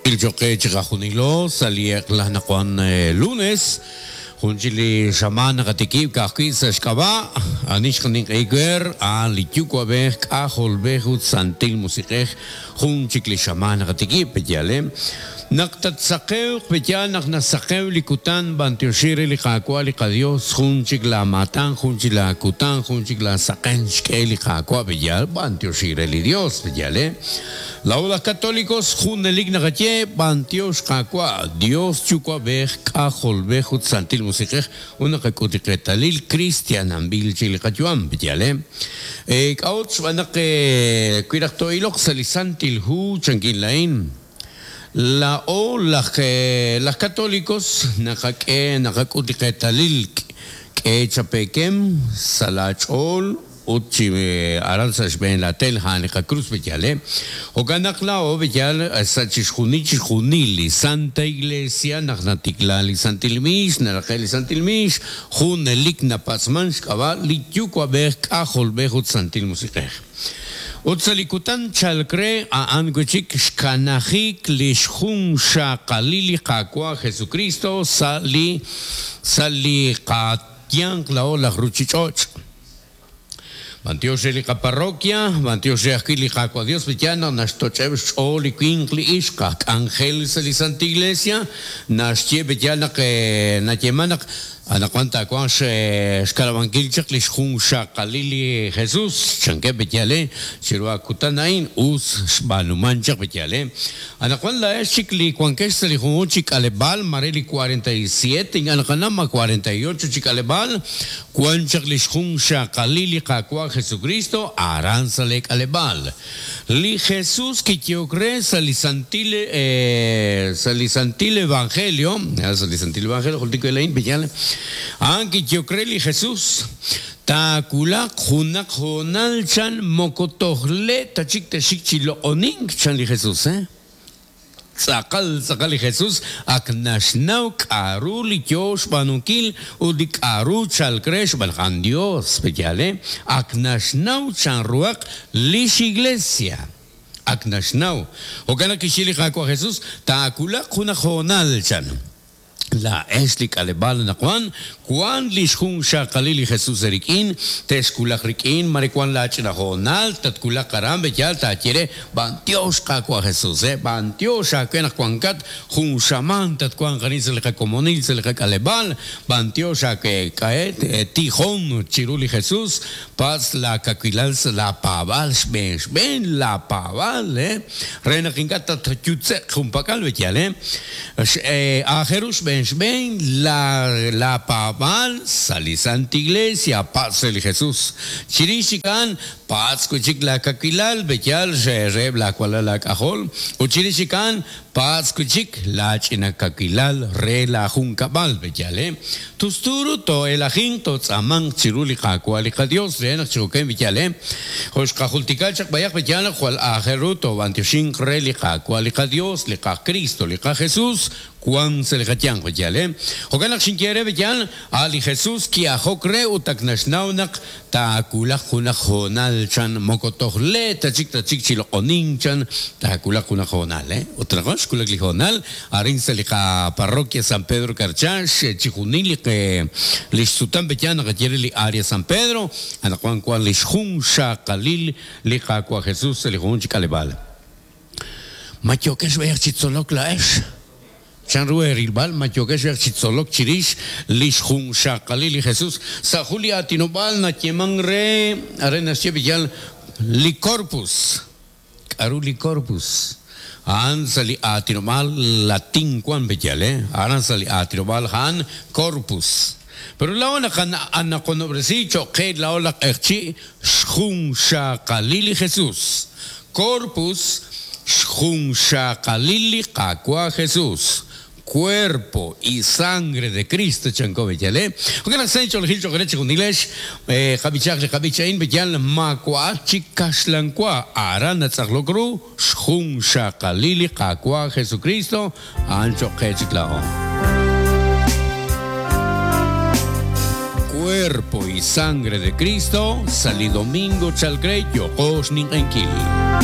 Cho'q qe chiqajunilo sa' li eq'la anaqwan lunes, jun chik li xamaan naqatikib' ka'ajwi' sa' xk'ab'a' ani xqaninq'ehi weer, a'an li Yuwa'b'ej, K'ajolb'ej ut Santil Musiq'ej, jun chik li xamaan naqatikib', pe'yaal e? Naq tatsaqewq, pe'yaal naq nasaqew li kutan, b'antioxi re li Qaawa' li qaDios, jun chik laamaatan, jun chik laakutan, jun chik laasaqen xk'e li Qaawa', pe'yaal, b'antioxi re li Dios, pe'yaal e? Laa'o laj Katolikos junelik naqaye, B'antiox Qaawa', Dios Yuwa'b'ej, K'ajolb'ej ut Santil Musiq'ej, ut naqak'ut li qeetalil kristiananb'il chik li qayu'am. Yaal e? K'a'ut? Xb'aan naq wi raj too'iloq sa' li Santil Hu, chankin laa'in, laa'o laj laj Katolikos naqak'e naqak'ut li qeetalil k'e chapeekem sa' laach'ool, Ut chi aran sa' xb'een laatel a'an li qakrus b'eyal, e. Jo'kan naq laa'o b'eyal sa' chixjunil chixjunil li Santa Iglesia naq natikla li Santil Miix, naraqe' li Santil Miix, junelik napatz'man xk'ab'a' li Yuwa'b'ej, K'ajolb'ej ut Santil Musiq'ej. Ut sa' li kutan chalk re a'an wi' chik xkanajik li xjunxaqalil li Qaawa' Jesukristo sa' li sa' li qayanq laa'o laj ruchich'och'. B'antiox re li qaparroquia, b'antiox re ajwi' li Qaawa' Dios li yaal naq naxtoch'eb' xch'ool li winq li ixq aj k'anjel sa' li Santil Iglesia, naxye be yaal naq nayeeman naq anaqwan taawanq xkanab'ankil chaq li xjunxaqalil li Jesus, chankeb' be yaal chiru a kutan a'in us xb'aanuman chaq be yaal. Anaqwan laa'ex chik li wankex sa' li junjunq chi k'aleb'aal, mare li 47, ink'a' naqanaw ma 48 chi k'aleb'aal, wan chaq li xjunxaqalil li Qaawa' Jesukristo aran sa' lee k'aleb'aal. Li Jesus kiyehok re sa' li santil sa' li santil evangelio, sa' li santil evangelio jultik we laa'in, pe'yaal? A'an kiyehok re li Jesus, Taawulaq junaq hoonal chan moko toj le' ta chik texxik chi loq'onink, chan li Jesus. Tz'aqal tz'aqal li Jesus ak naxnaw k'a'ru li yoo xb'aanunkil ut li k'a'ru chalk re xb'aan naq a'an Dios, pe'yaal? Ak naxnaw chanruhaq lix Iglesia. Ak naxnaw. Jo'kan naq kixye li Qaawa' Jesus, Taawulaq junaq hoonal, chan. Laa'ex li k'aleb'aal anaqwan, wank li xjunxaqalil li Jesus eerik'in, texwulaq rik'in, mare wank laach'ina hoonal, tatwulaq aran, b'eyaal taaye re, B'antiox Qaawa' Jesus, eh, b'antiox aawe naq wankat jun xamaan tatwanq arin sa' li qakomonil, sa' li qak'aleb'aal, b'antiox aawe, k'a'e, tijon chiru li Jesus, Patz' laakawilal sa' laapaab'aal xb'een xb'een laapaab'aal, eh, re naq ink'a' tatyutze'q junpak'al, b'eyaal, eh. Aajel ru xb'een xb'een laapaab'aal sa' li Sant Iglesia, patz' re li Jesus. Chirix chik a'an, patz' wi' chik laakawilal, b'eyaal, reheb' laawalal aak'ajol, ut chirix chik a'an, Patz' wi' chik laach'ina kawilal re laajunkab'al, b'eyal, eh? Tustu ru too'elajinq, tootz'aamanq chiru li Qaawa' li qaYos re naq chi jo'kan, b'eyal, eh? Jo' xqajultika chaq b'ayaq, b'eyal, naq jwal aajel ru toob'antioxinq re li Qaawa' li qaYos, li qaKristo, li qaJesus, wank sa' li qayanq, b'eyal, eh? Jo'kan naq xinye eere, b'eyal, a' li Jesus ki'ajok re ut ak naxnaw naq Taawulaq junaq hoonal, chan, moko toj le' ta chik tatxik chi loq'onink, chan, taawulaq junaq hoonal, eh. Ut anaqwan xwulak li hoonal, arin sa' li qaparroquia San Pedro Carchá, chixjunil li qe, li xsutam pe yaal naqaye re li Area San Pedro, anaqwan wank li xjunxaqalil li Qaawa' Jesús sa' li junjunq chi k'aleb'aal. Ma yookex b'ayaq chi tzolok laa'ex? Chan ru eerilb'al ma yookex b'ayaq chi tzolok chirix li xjunxaqalil li Jesús? Sa' jun li aatinob'aal nayeemank re, arin naxye b'iyal li corpus. K'aru li corpus? A'an sa' li aatinob'aal latín wank b'iyal, eh? Aran sa' li aatinob'aal a'an corpus. Pero laa'o naqanaqonob'resi cho'q qe laa'o laj q'eqchi' xjunxaqalil li Jesús. Corpus, xjunxaqalil li Qaawa' Jesus, Cuerpo y Sangre de Cristo, chanko b'eyal, eh. Jo'kan naq sa' inch'oolejil cho'q eere chejunilex, qab'ichaq li qab'ich a'in, b'eyal maawa'at chik kaxlan wa, aran natz'aqlok ru xjunxaqalil li Qaawa' Jesukristo, a'an cho'q qe chik laa'o. Cuerpo y Sangre de Cristo, sa' li domingo chalk re yooqo xninq'ehinkil.